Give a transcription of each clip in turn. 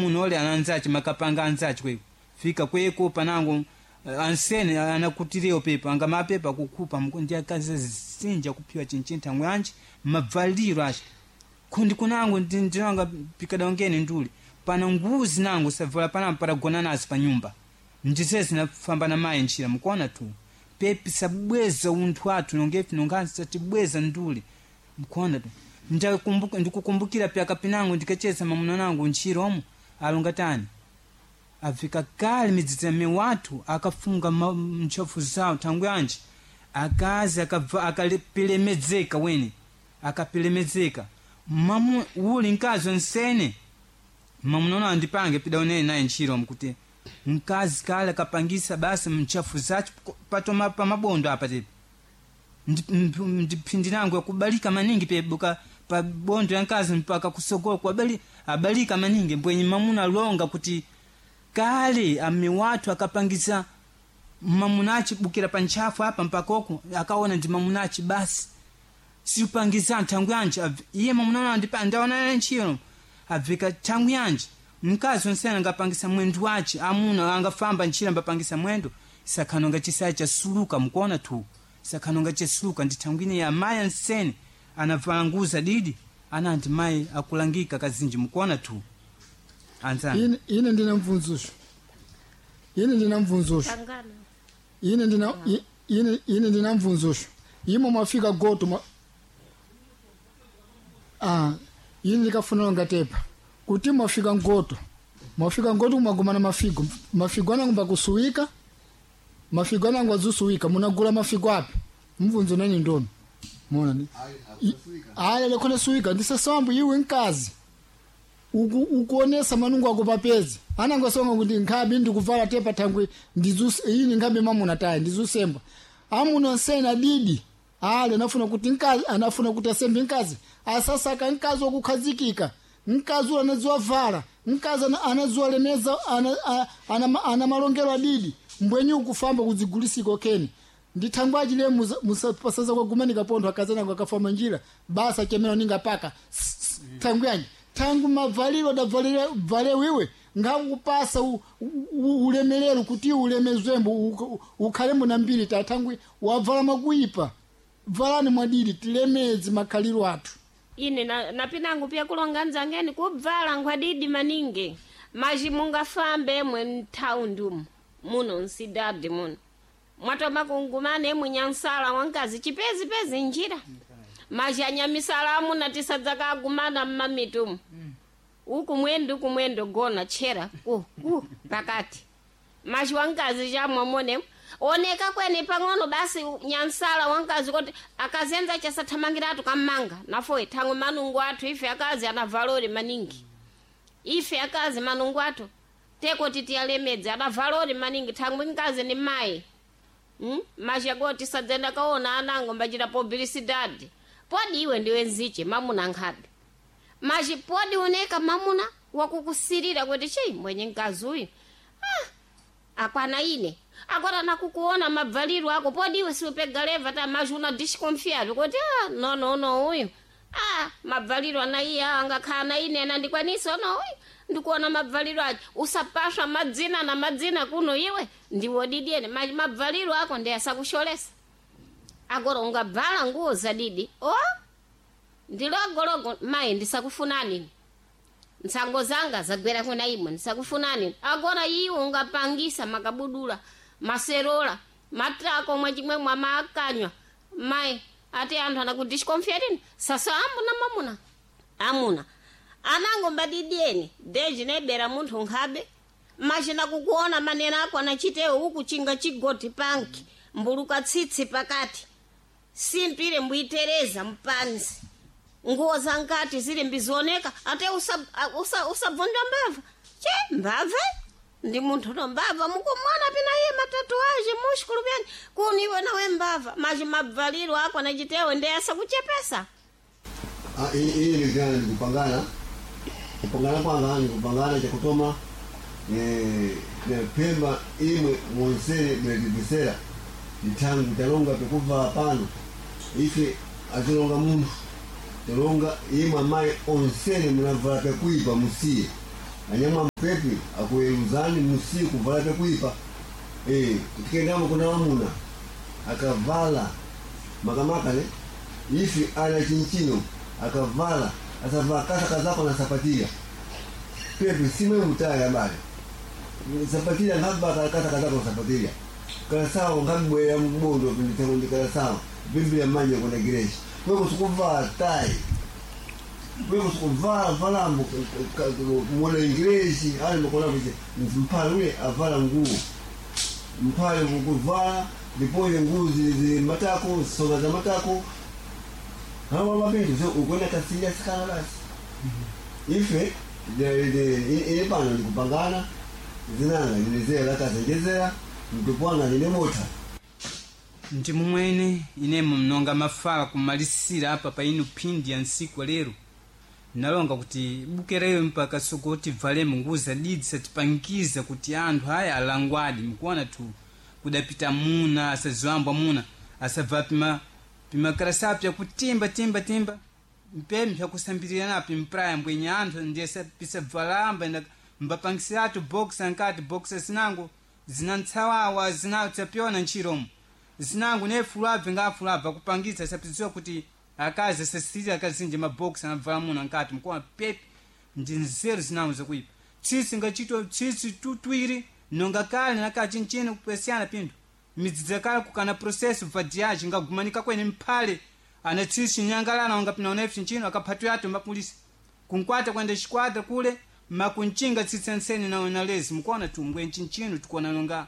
Mamuna ole ananzachi makapanga anzachi kweko fika kweko panango ansene anakutirewo pepa anga mapepa kukhupa ndi akazi zinja kuphiwa chinchintha yanji mabvaliro acho kundi kunango ndinanga pikadaongeni nduli pana nguzi nango savala panambo patagona nazo pa nyumba ndise zinafamba na mayi ntchira mukuona tu pepi sabweza unthu athu nongefi nongansi satibweza nduli mukuona tu ndikukumbukira pyaka pinango ndikacheza mamuna nango ntchira omwe alonga tani afika kale midzidzame wathu akafunga ntchafu zawo thangwi yanji akazi akapilemedzeka wene akapilemedzeka mamu uli mkazi onsene mamunaona andipange pidaonene naye ntchiro mkuti mkazi kale akapangisa basi mchafu zacho patoma pamabondo apa tepi ndiphindi nangu yakubalika maningi pebuka pa bondo ya mkazi mpaka kusogola kuabali abalika maningi mbwenye mamuna alonga kuti kale ame watu akapangisa mamunachi bukira pa ntchafu apa mpaka oku akaona ndi mamunachi basi siupangisa nthangu yanji iye mamuna ndaona ntchiro abveka thangu yanji mkazi onsene angapangisa mwendo wace amuna angafamba ntchira ambapangisa mwendo sakhanonga chisaya chasuluka mukuona tu sakhanonga chasuluka ndi thangu ine ya mayi ansene anavala nguza didi ananti mayi akulangika kazinji mukuona tu anzani ine ndina mvunzusho ine ndina mvunzusho ine ndina ine ndina mvunzusho imo mwafika goto mwa ine ndikafunira ngatepa kuti mwafika ngoto mwafika ngoto mwagumana mafigo mafigo anangu mbakusuwika mafigo anangu azusuwika munagula mafigo api mvunzo nani ndono mona ni aya lekhona suwika ndisasambu iwe nkazi ukuonesa manungu ako papezi anangu asonga kuti nkhabi ndikuvala tepa thangwi ini nkhabi mamuna tayi ndizusemba amuna nsena didi ale anafuna kuti nkazi anafuna kuti asembe nkazi asasaka nkazi wakukhazikika mkazi ula anadziwa vala mkazi anadziwa lemeza ana malongelo adidi mbwenyi ukufamba kudzigulisiko keni ndithangwaji le musapasaza kwagumanika pontho akazanako akafamba njira basa chemera ninga paka thangu yanji thangu mavaliro adavalire vale wiwe ngakupasa ulemelero kuti ulemezwembo ukhalembo na mbiri ta thangwi wavala makuipa valani mwadidi tilemedzi makhaliro athu ine napinangu pya kulonga nzangeni kubvala nkhwadidi maningi maji mungafambe emwe mthaundi umu muno nsidadi muno mwatoma kungumana emwe nyansala wankazi chipezipezi njira maji anyamisala amuna tisadzakagumana mmamitu umu uku mwendo uku mwendo gona tchera ku ku pakati maji wankazi chamwamone oneka kwene pang'ono basi nyansala wankazi kuti akazenza chasathamangiratu kammanga nafoye thangwe manungu athu ife akazi ana valori maningi ife akazi manungu athu teko titiyalemedze ana valori maningi thangwe nkazi ni mayi Maji tisadzenda kaona anango mbachita publicidade podi iwe ndiwe nziche mamuna nkhabe maji podi uneka mamuna wakukusirira kuti chei mwenye mkazi uyu akwana ine akwana nakukuona mabvaliro ako podi iwe siupega leva ta maji una disconfiado kuti no no no uyu mabvaliro ana iye angakhala na ine anandikwanisa ono uyu ndikuona mabvaliro acho usapaswa madzina na madzina kuno iwe ndiwo didiene maji mabvaliro ako ndi asakusholesa agora ungabvala nguwo za didi o ndilogologo mayi ndisakufunani ntsango zanga zagwera kuna imwe ndisakufunani agora iwe ungapangisa makabudula maserola matrako mwachimwe mwamakanywa mayi ati anthu anakudisconfiatini sasa amuna mamuna amuna anango mbadidieni deji nebera munthu nkhabe machina kukuona manena ako anachitewo ukuchinga chigoti panki mbuluka tsitsi pakati simpire mbuitereza mpanzi nguwo za nkati zili mbizioneka ate usabvundwa usa mbava che mbava ndi munthu no mbava mukumwana pina iye matatuaje mushukulu pyani kuni iwe nawe mbava maji mabvaliro ako anachitewo ndi asakuchepesa Ili nivya nikupangana kupangana kwanga nikupangana chakutoma pemba imwe mwonsere mwetivisera ntangu talonga pekuva pano ife atilonga munthu talonga imwe amayi onsere munavala pekuipa musiye Anyama mpepi akueluzani musiku kuvala pekuipa. Tikendamo kuna wamuna akavala makamaka ne ifi ana chinchino akavala asavala kasa kazako na sapatia pepi simwe mutaya bale sapatia ngaba kasa kazako na sapatia kala sawa ngabwe ya mbondo pinitengo ndikala sawa biblia manje kuna gireshi wewe usukuvaa tai wewe usukuvaa vala mwana ingreshi ali mkona vije mpale ule avala nguo mpale kukuvala ndipoye nguo zili matako soga za matako hawa mabintu so ukwenda kasinya sikana basi ife ile pano ndikupangana zinanga ndinezera kasenjezera mtupwanga ndine mota. Ndi mumwene inemo mnonga mafala kumalisira apa pa inu phindi ya ntsiku lero nalonga kuti bukereyo mpaka sokoti valemo nguvu zadidi satipangiza kuti anthu aya alangwadi mkuona tu kudapita muna asaziwambwa muna asabva pima pimakarasa pyakutimba timba timba mpemi pyakusambirira napi mpraya mbwenye anthu ndiye pisabvalamba mbapangisiratu box ankati box zinango zina ntsawawa zinatsapyona ntchiromo zinango nefulabve ngafulabve akupangitsa sapidziwa kuti akazi asasirira akazinji mabox anavala muno ankati mkuona pepi ndi nzeru zinango zakuipa tsitsi ngachito tsitsi tutwiri nonga kale nakachinchino kupesiyana pinthu midzidzi kale kukana processo vadiage ngagumanika kwene mphale ana tsitsi nyangalana wanga pina unefi nchino akaphatu yato mapulisi kunkwata kwenda xiquadra kule makunchinga tsitsi ansene na nalezi mukuona tumbwe nchinchino tikuona nonga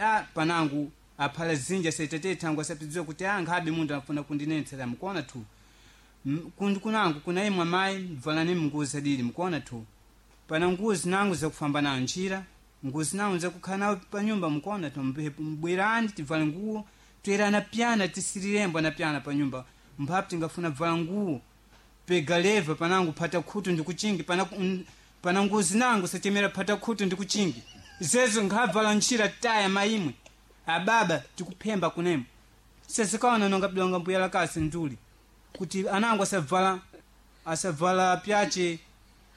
a panangu aphala zinja saitate thangu asapidziwa kuti a nkhabe munthu afuna kundinetsera mukuona tu kundi kunangu kuna imwe amayi bvalani nguo zadili mukuona tu pana nguo zinangu zakufamba nayo njira nguo zinangu zakukhala nawo panyumba mukuona tu mbwerani tivale nguo toyerana pyana tisirirembo na pyana panyumba mphapu tingafuna bvala nguo pega leva panangu phata khutu ndikuchingi pana pana nguo zinangu sachemera phata khutu ndikuchingi zezo nkhabvala ntchira taya maimwe ababa tikuphemba kunemo sesikaona nonga bidonga mbuya lakasi nduli kuti anangu asavala asavala pyache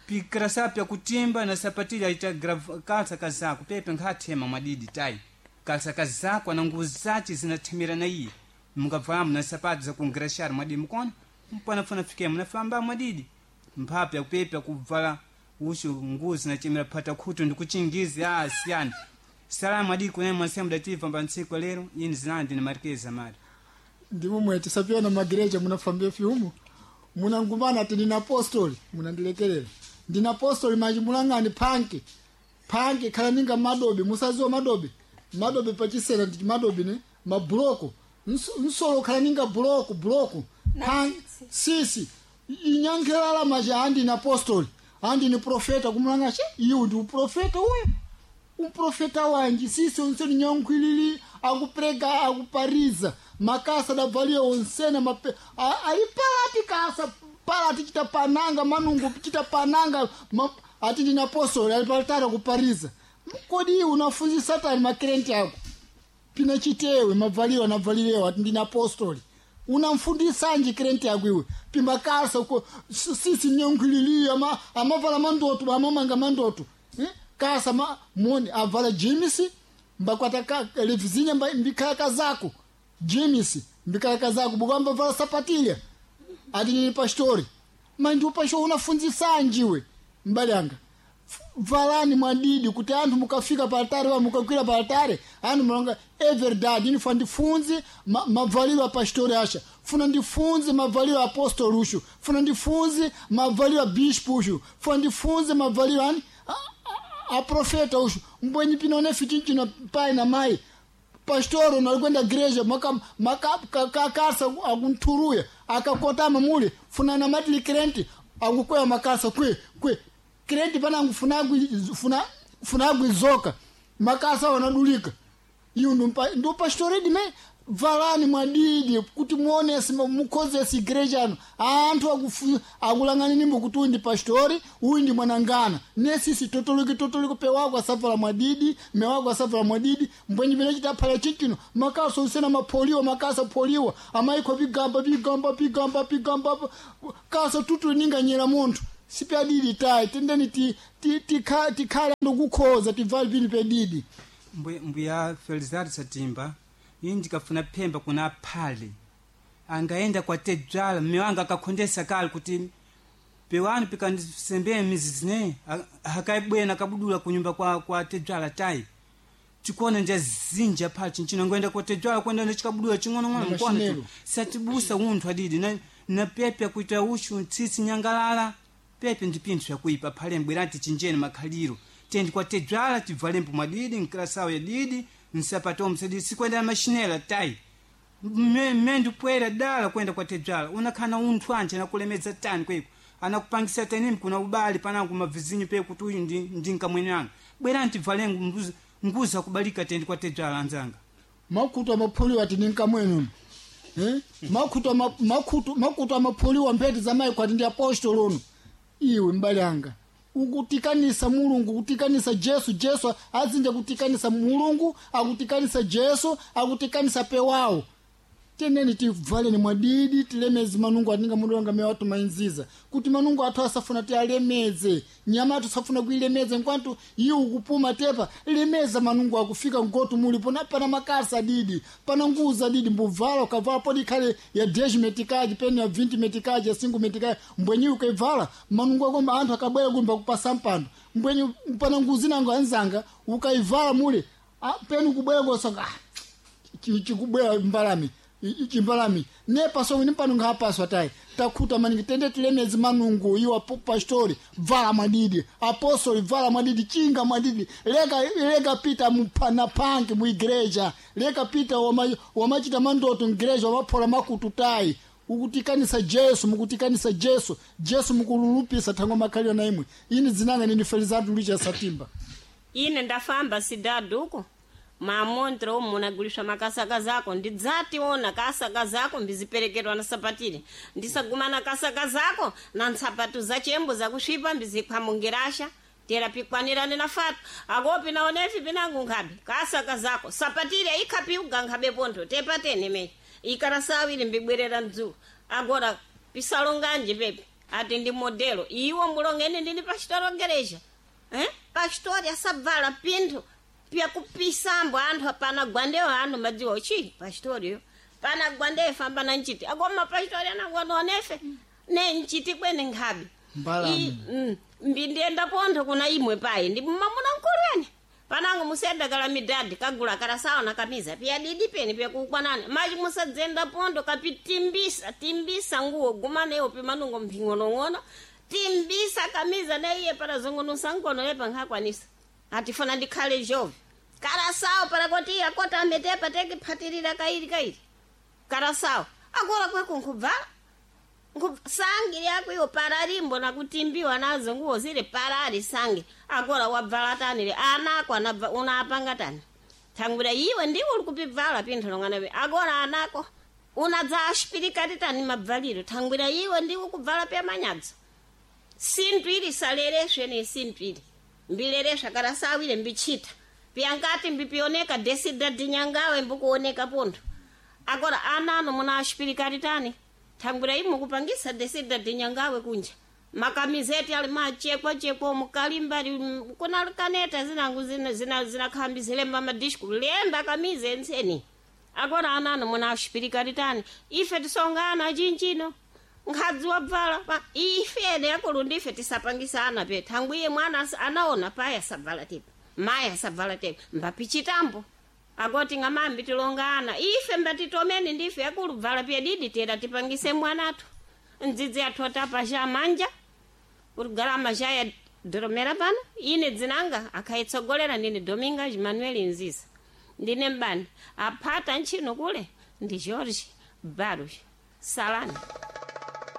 pikrasa pyakutimba na sapatili aita kalsa kazako pepe nkhathema mwadidi tayi kalsa kazako ana nguo zace zinathemera na iye mukabvalamo na sapato zakungrashari mwadidi mukona mpanafuna fike munafamba mwadidi mphapu yakupepe yakubvala usho nguo zinachemera phata khutu ndikuchingizi a siyani salamu adidi kunene mwasemu dativa mba ntsiku lero ini zinandi ni marikeza mari Ndimo mwe tisapyona magireja munafambia fyumu munangumana ati ndina apostoli munandilekerera ndina apostoli manji mulang'ani panki panki khala ninga madobe musaziwa madobe madobe pachisera ndi madobe ne mabuloko nsolo khala ninga buloko buloko sisi inyankhelala maji andi ni apostoli andi ni profeta kumulanga she iyu ndi uprofeta uyu uprofeta wanji sisi onse ni nyankhwilili akuprega akupariza makasa dabvalia onsena mape aipala kasa pala tichita pananga manungu tichita pananga ati ndina apostoli ali palitara kupariza kodi unafunzi satani makrenti ako pina chitewe mabvaliro anabvalirewo ati ndina apostoli unamfundisanji krenti yako iwe pimakasa uko sisi nyankhwilili amavala mandoto amamanga mandoto kasa ma moni avala jimisi mbakwata ka levizinya mbikhala kazako jimisi mbikhala kazako bukamba vala sapatilya ati nini pastori mandi upasho unafunzisanjiwe mbali anga valani mwadidi kuti anthu mukafika paltare va mukakwira paltare anthu mulonga everdad inifa ndifunze mavaliro a pastori asha funa ndifunze mavaliro a apostoli ushu funa ndifunze mavaliro a bispo ushu funa ndifunze mavaliro ani a profeta ushu mbwenyi pino nefitinchino pai na mai pastoro nalikwenda gereja makasa akunthuruya akakotama mule funa namatili krenti akukwea makasa kwe kwe krenti panangu funagwizoka makasa wanadulika iyu ndu pastoridi me valani mwadidi kuti muonese mukhozese igreja ano anthu akulang'ani nimbo kuti uyu ndi pastori uyu ndi mwanangana nesisi totoliki totoliki pewako asavala mwadidi mewako asavala mwadidi mbwenyi pene chitaphala chichino makasa usena mapholiwa makasa pholiwa amaikho pigamba pigamba pigamba pigamba kasa tutuli ninganyera munthu. Sipyadidi tayi tendeni tikhale ndikukhoza tivale pini pedidi. Mbuya Felizardo Satimba, ini ndikafuna phemba kuna aphale angaenda kwa tedzwala mme wanga akakhondesa kale kuti pewani pikandisembee mizizi ne hakaibwena akabudula kunyumba kwa tedzwala tayi chikuona nja zinja phala chinchino ngoenda kwa tedzwala kwenda ndachikabudula ching'onong'ono mkona Mashinelo. satibusa unthu adidi na pepe akuita ushu tsitsi nyangalala pepe ndi pinthu yakuipa phale mbwerati chinjeni makhaliro tendi kwa tedzwala tibvalembo mwadidi nkilasawo ya didi nsapato msadidi sikwenda mashinela tayi mme ndipwera dala kwenda kwa tedzwala unakhana unthu anje anakulemedza tani kweko anakupangisa tanimi kuna ubali panangu mavizinyu pe kuti uyu ndi nkamwene anga bwerani tibvalengo nguza kubalika tendi kwa tedzwala anzanga. Makutu amaphuliwa ati ninkamwene eh? Makutu amaphuliwa mphete za mayi kwati ndi apostolo uno. Iwe mbali anga ukutikanisa Mulungu, kutikanisa Jesu. Jesu azinja kutikanisa Mulungu, akutikanisa Jesu, akutikanisa pewawo. Teneni tivaleni mwadidi tilemeze manungu atinga mundu wanga mewa tumainziza kuti manungu athu asafuna tialemeze nyama athu asafuna kuilemeze nkwantu iwe ukupuma tepa lemeza manungu akufika ngotu mulipo na pana makasa didi pana nguza didi mbuvala ukavala podi khale ya 10 metikaji peni ya 20 metikaji ya 5 metikaji mbwenyi ukaivala manungu ako anthu akabwera kumba kupasa mpando mbwenyi pana nguzi nango anzanga ukaivala mule peni ukubwera kosanga chikubwera mbalame chimbalame nepaso nimpano ngapaswa tayi takhuta maningi tende tilemezi manungu iwo pastori vala mwadidi apostoli vala mwadidi chinga mwadidi leka pita na panki muigreja leka pita wamachita mandoto migreja wamaphola makutu tayi ukutikanisa Jesu mukutikanisa Jesu Jesu mukululupisa thango makhalio na imwe ini dzinanga nini Felizardo Lucha Satimba. Ine ndafamba sidaduko mamontre omu munaguliswa makasaka zako ndidzationa kasaka zako mbiziperekerwa na sapatile ndisagumana kasaka zako na ntsapatu za chembo zakusvipa mbizikhwamungirasha tera pikwanirane na fatu akopi naonefi pinangu nkhabe kasaka zako sapatile ikhapiuga nkhabe pontho tepatene me ikara sawiri mbibwerera mdzulo agora pisalonganje pepe ati ndi modelo iwo mulongene ndini pachitolongereja eh? Pastori asabvala pinthu pyakupisambo anthu apana gwandewo anthu madziwa chi pastoriyo pana gwandeyo famba na nchiti akoma pastori anangwanonefe ne nchiti kwene nkhabe. Mbalame. Mbindiyenda pontho kuna imwe payi ndi mamuna mkulweni panango musenda kala midadi kagula kala sawa na kamiza piyadidi peni pyakukwanani machi musadzenda pontho kapitimbisa timbisa nguwo gumaneyo pimanungo mphing'onong'ono timbisa kamiza neiye parazungunusa nkono yepa nkhakwanisa atifuna ndikhale jove karasawo parakoti akota ametepa tekiphatirira kairi kairi karasawo akora kweko nkubvala sangi lyako iwo paralimbo nakutimbiwa nazo nguwo zile parali sangi akora wabvala tani le anako anabva unapanga tani thangwira iwe ndiwe uli kupibvala pinthu longanabe akora anako unadza ashipirikati tani mabvaliro thangwira iwe ndiwe kubvala pya manyadzo sinthu ili salereswe ni sinthu ili mbilereswa karasawire mbichita pyankati mbipioneka desida dinyangawe mbukuoneka pontho agora anano muna ashipirikati tani thangwira imwe kupangisa desida dinyangawe kunja makamizeti ali machekwachekwa mukalimbali kuna kaneta zinangu zinakhambi zilemba madisku lemba kamize enseni agora anano muna ashipirikati tani ife tisongana chinchino nkhadzi wabvala pa ife ene akulu ndife tisapangisana pe thangwiye mwana anaona payi asabvala tepa mayi asabvala tepa mbapichitambo akoti ng'amambi tilongana ife mbatitomeni ndife akulu bvala pyedidi tera tipangise mwanathu ndzidzi athu otapa manja kuti galama jaya doromera pano ine dzinanga akhaitsogolera ndine Domingas Manuel Nziza ndine mbani aphata ntchino kule ndi George Barros Salani.